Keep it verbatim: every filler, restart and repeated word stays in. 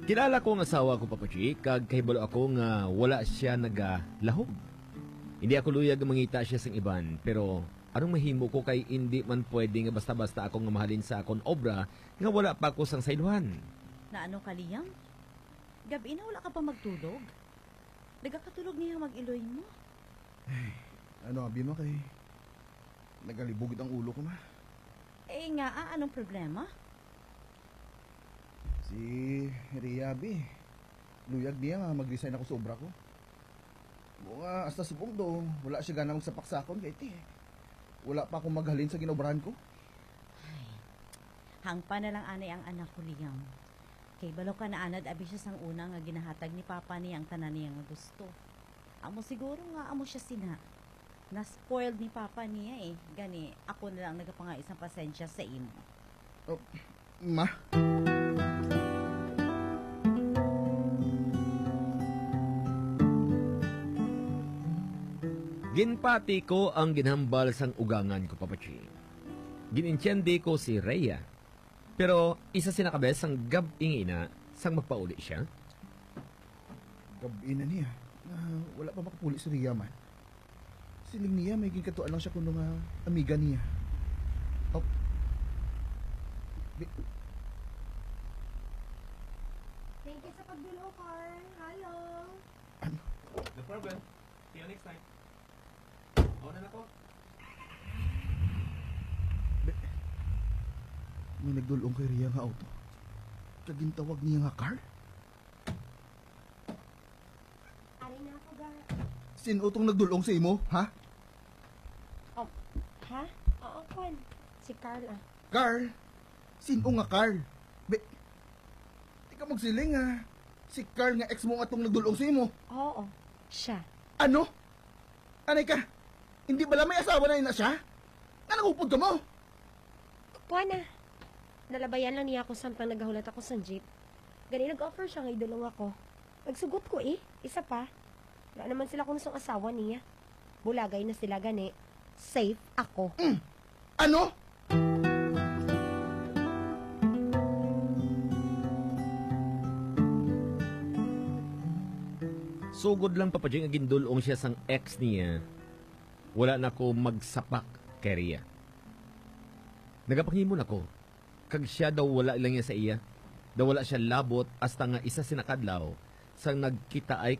Kilala ko ang asawa ko, Papa G, kag kahibalo ako nga wala siya nagalahog. Hindi ako luyag nga mangita siya sang iban, pero anong mahimo ko kay indi man pwede nga basta-basta ako nga mahalin sa akon obra nga wala pa ako sang saylohan. Na ano ka, Liam? Gabi na wala ka pa magtulog? Nagakatulog niya mag-iloy mo. Ano, abi, ma, kay nagalibog ang ulo ko, ma. Eh nga, ah, anong problema? Si Ria, abi. Luyag niya nga mag-resign ako sa obra ko. Mo nga, hasta subong do, wala siya gana magsapak sa akon kay ti. Wala pa akong maghalin sa ginobrahan ko. Ay, hangpa na lang anay ang anak ko, Liam. Kay balo ka na anad abi siya sang una nga ginahatag ni Papa niya ang tanan niya nga gusto. Amo siguro nga amo siya sina. Na-spoiled ni Papa niya eh. Gani, ako na lang nagapangay isang pasensya sa imo. Oh, ma? Ginpati ko ang ginhambal sang ugangan ko, Papa Ching. Gin-intiende ko si Rhea. Pero isa sina ka bes sang gab-i nga ina sang magpauli siya. Gab-i na niya. Ah, wala pa makapuli si Rhea man. Siling niya may ginkatuan lang siya kuno nga amiga niya. Oh. Bi- Thank you sa pagdulong, Carl. Hello. Ano? No problem. See you next time. Ako na nako. Bi- May nagdulong kay Rhea nga auto. Kag gintawag niya nga car? Ari na ako, ga. Sino tong nagdulong sa imo, ha? Oh, ha? Oo, Kwan. Si Carl, ah. Carl? Sino nga Carl? Be, di ka magsiling nga si Carl nga ex mo nga tong nagdulong sa imo. Oo, siya. Ano? Anay ka? Hindi bala may asawa na ina siya? Nga nangupod ka mo? Kuha na. Nalabayan lang niya ako samtang nagahulat ako sa jeep. Gani nag-offer siya nga idulong ako. Nagsugot ko eh. Isa pa. Wala naman sila kung song asawa niya. Bulagay na sila gani. Safe ako. Ano? Sugod lang, Papa Jing, nga gindulong siya sang ex niya, wala na ko magsapak kay Ria. Nagapangimon ako, kag siya daw wala lang niya sa iya. Daw wala siya labot hasta nga isa sina kadlaw sang nagkitaay